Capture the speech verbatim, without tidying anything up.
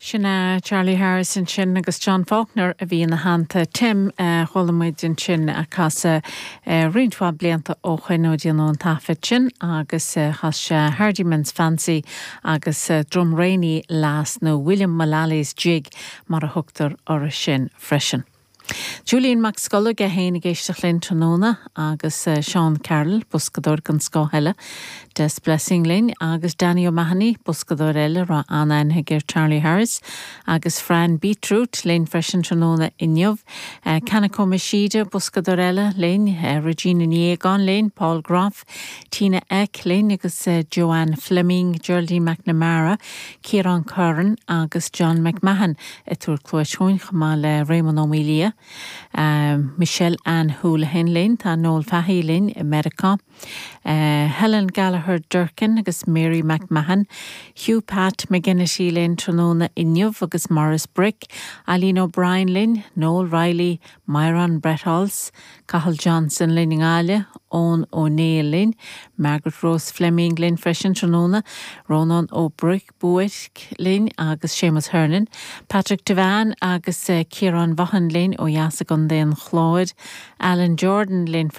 Sin uh, Charlie Harris ansin agus John Faulkner a bhí ina theannta Tim uh, chuala muid ansin ag casadh uh, roinnt mhaith blianta ó shin ó déanadh an taifead sin agus uh, chas sé Hardyman's Fancy agus uh, Drumraney Lass nó William Mullally's Jig mar a thugtar air sin freisin. Julian Mac Scola ge héana géiste linn tráthnóna agus uh, Sean Carroll boscadóir den scoth eile Des Blessing linn agus Danny O'Mahony boscadóir eile ra an-aithne ar Charlie Harris agus Fran Beetroot linn freisin tráthnóna inniu uh, Kanako Machida boscadóir eile linn uh, Regina Niegan linn Paul Groff Tina Eck linn agus uh, Joanne Fleming Geraldine McNamara Kieran Curran agus John McMahon ag tabhairt cluas dúinn chomh maith le Raymond O'Melia. Um, Michelle Ann Houlihan linn tá Noel Fahey linn i Meiriceá. Uh, Helen Gallagher Durkin agus Mary McMahon, Hugh Pat McGinnity linn tráthnóna inniu agus Morris Brick, Eileen O'Brien linn, Noel Riley, Myron Bretholz, Cathal Johnson linn i nGaillimh, Owen O'Neill linn, Margaret Rose Fleming linn freisin tráthnóna, Ronan O'Brick Buick linn agus Seamus Hernan, Patrick Devan agus uh, Kieran Vaughan linn ó Jasagan den Chláid, Alan Jordan linn freisin